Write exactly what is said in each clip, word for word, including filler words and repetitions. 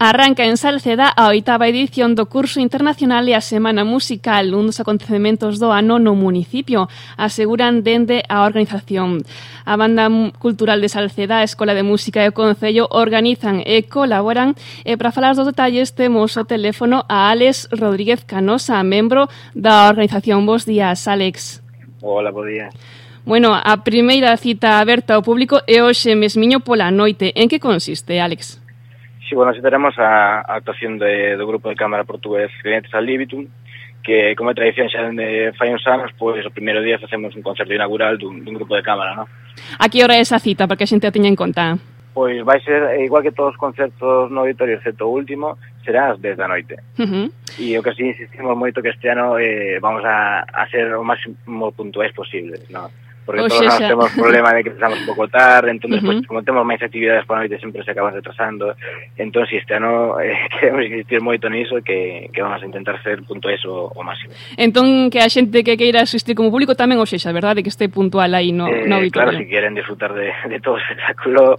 Arranca en Salceda a oitava edición do curso internacional e a Semana Musical, un dos acontecementos do ano no municipio, aseguran dende a organización. A Banda Cultural de Salceda, a Escola de Música e o Concello organizan e colaboran, e para falar dos detalles temos o teléfono a Álex Rodríguez Canosa, membro da organización. Bos días, Álex. Hola, bo día. Bueno, a primeira cita aberta ao público é hoxe mesmiño pola noite. En que consiste, Álex? Sí, bueno, así teremos a, a actuación de, do grupo de cámara portugués Clientes al Libitum, que como é tradición xa de fai uns anos, pois o primeiro día facemos un concerto inaugural dun, dun grupo de cámara, non? A que hora é esa cita, para que a xente a teña en conta? Pois vai ser, igual que todos os concertos no auditorio, excepto o último, será ás dez da noite. Uh-huh. E o que así insistimos moito que este ano eh, vamos a, a ser o máximo puntuais posibles, non? Porque o todos xa, nós temos problema de que empezamos un pouco tarde, entón, uh-huh. despois, como temos máis actividades por a noite, sempre se acaban retrasando. Entón, si este ano eh, queremos insistir moito niso, que, que vamos a intentar ser puntuais o, o máximo. Entón, que a xente que queira asistir como público tamén o sexa, verdade? Que este puntual aí no, eh, no auditorio. Claro, si queren disfrutar de, de todo o espectáculo,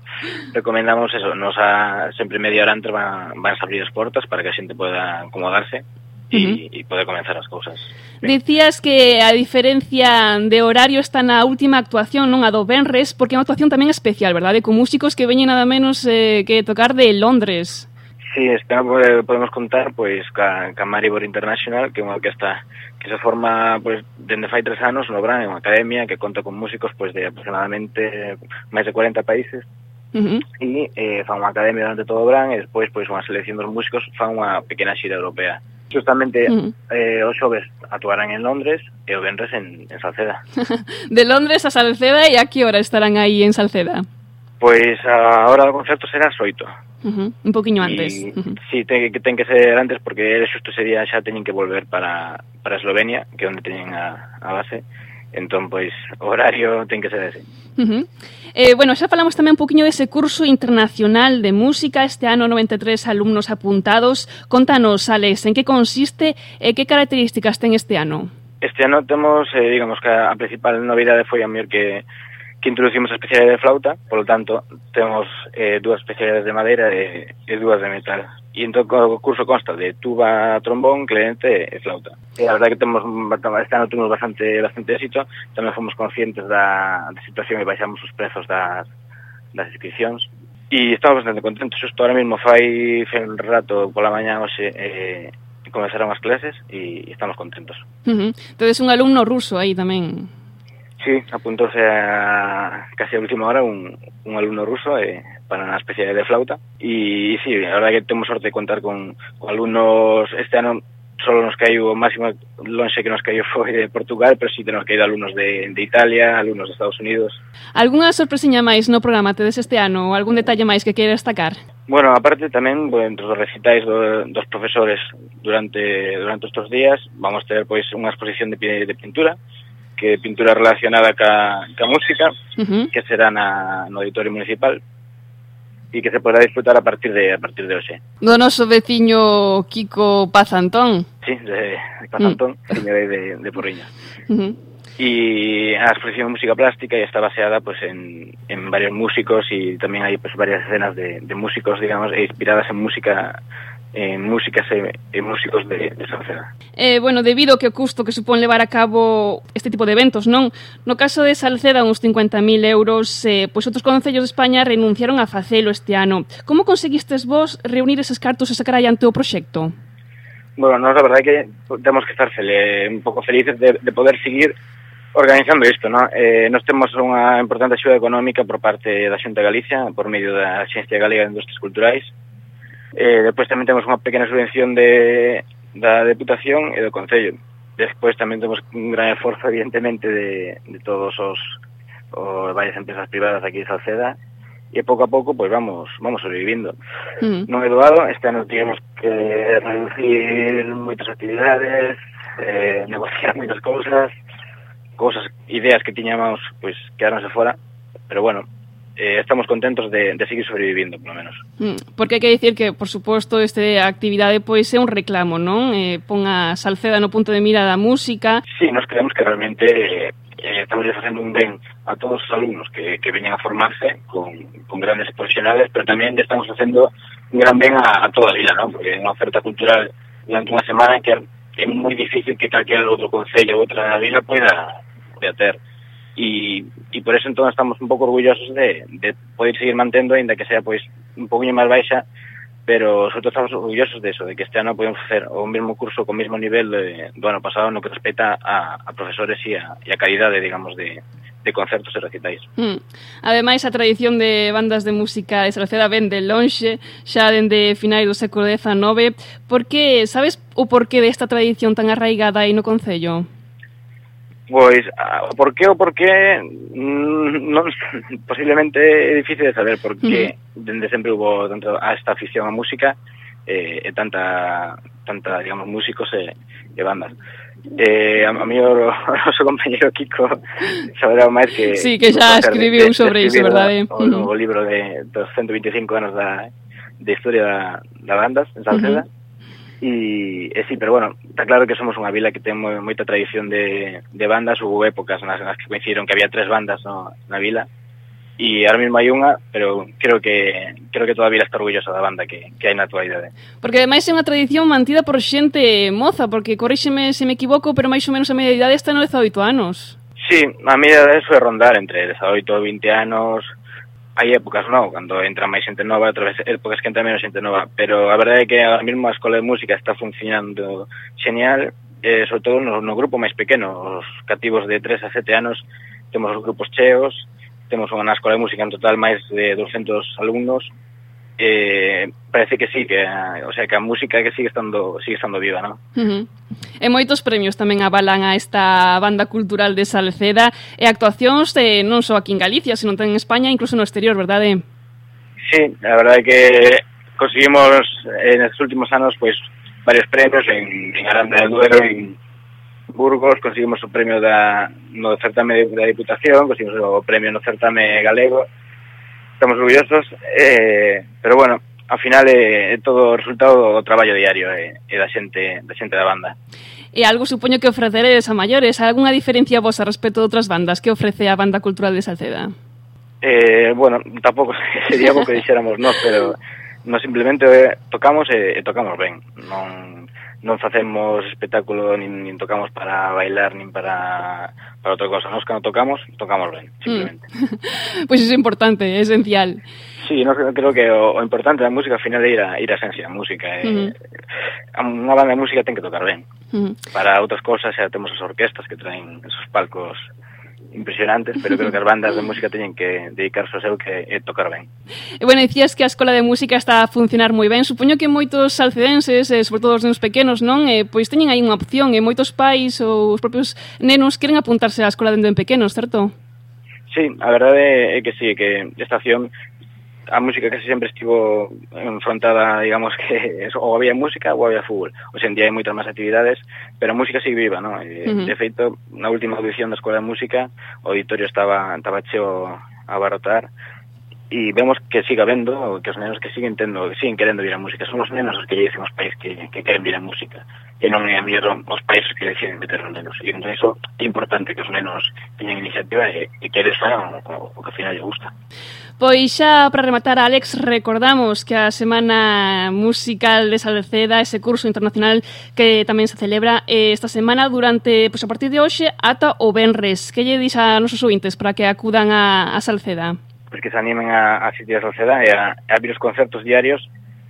recomendamos eso, nos a, sempre media hora antes van, van a abrir as portas para que a xente poda acomodarse e uh-huh. poder comenzar as cousas. Decías que a diferencia de horario está na última actuación, non a do Benres, porque é unha actuación tamén especial, verdade? Con músicos que veñen nada menos eh, que tocar de Londres. Sí, este ano podemos contar pois ca, ca Maribor International, que é unha orquesta que se forma pois dende fai tres anos no Bran, é unha academia que conta con músicos pois de aproximadamente máis de cuarenta países. Uh-huh. E eh, fan unha academia durante todo o Bran e despois pois unha selección dos músicos fan unha pequena xira europea. Justamente uh-huh. eh, os xoves actuarán en Londres e o venres en, en Salceda. De Londres a Salceda, e a que hora estarán aí en Salceda? Pois a hora do concerto será as oito. Uh-huh. Un poquinho antes. Y, uh-huh. Sí, ten, ten que ser antes porque xusto ese día xa teñen que volver para, para Eslovenia, que é onde teñen a, a base. Entón, pois, o horario ten que ser ese. Uh-huh. Eh, bueno, xa falamos tamén un poquinho dese curso internacional de música, este ano noventa e tres alumnos apuntados. Contanos, Alex, en que consiste e que características ten este ano? Este ano temos, eh, digamos que a principal novidade foi a mellor que, que introducimos a especialidade de flauta, polo tanto, temos eh, dúas especialidades de madeira e, e dúas de metal. E entón o curso consta de tuba, trombón, clarete e flauta. E a verdade que temos, este ano temos bastante, bastante éxito, tamén fomos conscientes da, da situación e baixamos os prezos das, das inscripcións. E estamos bastante contentos, xusto ahora mesmo fai, fai un rato pola mañá hoxe eh, comenzaron as clases e estamos contentos. Uh-huh. Entonces un alumno ruso aí tamén. Sí, apuntouse a casi a última hora un, un alumno ruso eh, para unha especie de flauta e, e sí, a verdade que temos sorte de contar con, con alumnos. Este ano solo nos caiu o máximo lonxe que nos caiu foi de Portugal, pero sí temos caído alumnos de, de Italia, alumnos de Estados Unidos. Algúnha sorpresiña máis no programa tedes este ano ou algún detalle máis que queira destacar? Bueno, aparte tamén, bueno, entre os recitais do, dos profesores durante durante estes días vamos ter pois unha exposición de, de pintura, que pintura relacionada ca, ca música, uh-huh. que será na, no auditorio municipal e que se poderá disfrutar a partir de a partir de hoxe. Do noso veciño Kiko Paz Antón. Sí, de, de Paz Antón, uh. señor de, de Porriña. Uh-huh. E a exposición de música plástica está baseada pues en, en varios músicos e tamén hai pues varias escenas de, de músicos, digamos, inspiradas en música en músicas e, e músicos de, de Salceda. Eh, bueno, debido ao que o custo que supón levar a cabo este tipo de eventos, non? No caso de Salceda, uns cincuenta mil euros, eh, pois outros concellos de España renunciaron a facelo este ano. Como conseguistes vos reunir eses cartos e sacar adiante o proxecto? Bueno, nós a verdade é que temos que estar feliz, un pouco felices de, de poder seguir organizando isto, non? Eh, nós temos unha importante axuda económica por parte da Xunta de Galicia, por medio da Axencia Galega de Industrias Culturais. Eh, despois tamén temos unha pequena subvención de, da Deputación e do Concello. Despois tamén temos un gran esforzo, evidentemente, de, de todos os, os varias empresas privadas aquí de Salceda, e pouco a pouco, pois vamos vamos sobrevivindo. Mm. Non é doado, este ano tivemos que reducir moitas actividades, eh, negociar moitas cousas, cousas, ideas que tiñamos, pois quedaronse fora, pero bueno, Eh, estamos contentos de, de seguir sobrevivindo, polo menos. Mm, porque hai que dicir que, por suposto, esta actividade pois é un reclamo, non? Eh, pon a Salceda no punto de mira da música. Sí, nos creemos que realmente eh, estamos facendo un ben a todos os alumnos que, que veñen a formarse con, con grandes profesionales, pero tamén estamos facendo un gran ben a, a toda a vila, non? Porque é unha oferta cultural durante unha semana que é moi difícil que calquer outro concello ou outra vila poida, poida ter. E, e por eso entón estamos un pouco orgullosos de, de poder seguir mantendo, ainda que sea pois un pouquinho máis baixa, pero sobre todo estamos orgullosos de eso, de que este ano podemos facer o mesmo curso con o mesmo nivel de, do ano pasado no que respecta a, a profesores e a, e a calidade, digamos, de, de concertos e recitais. Mm. Ademais, a tradición de bandas de música de Salceda ven de lonxe, xa dende finais do século dezanove. Por que, sabes o porqué desta tradición tan arraigada aí no concello? Pois, o porqué o porqué non, posiblemente é difícil de saber, porque uh-huh. dende sempre hubo dentro a esta afición á música eh, e tanta, tanta, digamos, músicos e, e bandas. Eh, a, a mí o, o noso compañero Kiko saberá máis que... Sí, que xa escribiu sobre iso, verdade? O, o, o libro de, dos ciento veinticinco anos da, de historia da, da bandas en Salceda. Uh-huh. E, e sí, pero bueno, está claro que somos unha vila que ten moi, moita tradición de, de bandas. Hubo épocas nas, nas que coincidiron que había tres bandas no, na vila, e ahora mesmo hai unha, pero creo que creo que toda a vila está orgullosa da banda que, que hai na actualidade. Porque ademais é unha tradición mantida por xente moza, porque corríxeme se me equivoco, pero máis ou menos a media idade está no dezaoito anos. Sí, a media idade foi rondar entre dezaoito e vinte anos. Hai épocas, non, cando entra máis xente nova, outras épocas que entra menos xente nova, pero a verdade é que agora mesmo a escola de música está funcionando genial, eh, sobre todo no, no grupo máis pequeno, os cativos de tres a sete anos, temos os grupos cheos, temos unha escola de música en total máis de doscientos alumnos, eh, parece que sí, que, o sea, que a música que sigue estando sigue estando viva, non? Uh-huh. E moitos premios tamén avalan a esta banda cultural de Salceda e actuacións eh, non só aquí en Galicia, sino tamén en España, incluso no exterior, verdade? Sí, a verdade é que conseguimos en estes últimos anos pois varios premios en, en Aranda del Duero, en Burgos, conseguimos o premio da, no certame da Diputación, conseguimos o premio no certame galego. Estamos orgullosos, eh, pero bueno, ao final é, é todo o resultado do traballo diario e, e da xente da xente da banda. E algo supoño que ofreceredes a maiores, algunha diferencia vosa respecto de outras bandas que ofrece a Banda Cultural de Salceda? Eh, bueno, tampouco sería algo que dixéramos nós, pero non simplemente tocamos e, e tocamos ben. Non non facemos espectáculo, nin, nin tocamos para bailar, nin para, para outra cosa. Nos cando tocamos, tocamos ben, simplemente. Mm. Pois pues iso é importante, é esencial. Sí, no, creo que o, o importante da música ao final é ir a, ir a esencia da música. Uh-huh. Eh, unha banda de música ten que tocar ben. Uh-huh. Para outras cosas xa temos as orquestas que traen esos palcos impresionantes, pero creo que as bandas de música teñen que dedicarse ao seu que é tocar ben. E bueno, dicías que a Escola de Música está a funcionar moi ben. Supoño que moitos salcedenses, eh, sobre todo os nenos pequenos, non, eh, pois teñen aí unha opción, e moitos pais ou os propios nenos queren apuntarse á escola dende pequenos, certo? Sí, a verdade é que sí, que esta acción a música casi sempre estivo enfrontada, digamos que ou había música ou había fútbol. Hoxe en día hai moitas máis actividades, pero a música sigue viva, non? E, uh-huh. De feito, na última audición da Escola de Música, o auditorio estaba, estaba cheo a abarrotar, e vemos que siga vendo, que os nenos que siguen tendo, que siguen querendo vir a música. Son os nenos os que lle dicen os pais que, que queren vir a música, e non é a mellor os pais que deciden meter os nenos. E entón iso é importante que os nenos teñan iniciativa e, e que eles fagan o, o que ao final lle gusta. Pois xa para rematar, Alex, recordamos que a Semana Musical de Salceda, ese curso internacional que tamén se celebra esta semana durante, pois a partir de hoxe ata o venres. Que lle dis a nosos ouvintes para que acudan a, a Salceda? Pois que se animen a, a asistir a Salceda e a, a vir os concertos diarios,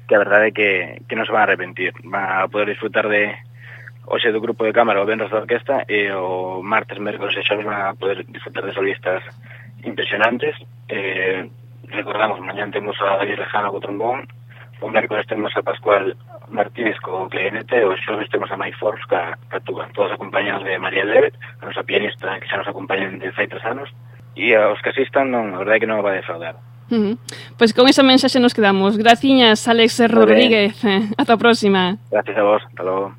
que a verdade é que, que non se van a arrepentir. Van a poder disfrutar de hoxe do grupo de cámara, o venres da orquesta, e o martes, mércoles e xoves van a poder disfrutar de solistas impresionantes. Eh, recordamos, mañán temos a David Lejano co trombón, o mércoles temos a Pascual Martínez co clarinete, o xoves temos a Mai Forbes ca, ca tuba, todos acompañados de María Levet, a nosa pianista que xa nos acompañan desde hai tres anos, e aos que asistan, non, a verdade é que non va a defraudar. Uh-huh. Pois con esa mensaxe nos quedamos. Graciñas, Alex Rodríguez. Ata a próxima. Gracias a vos, hasta logo.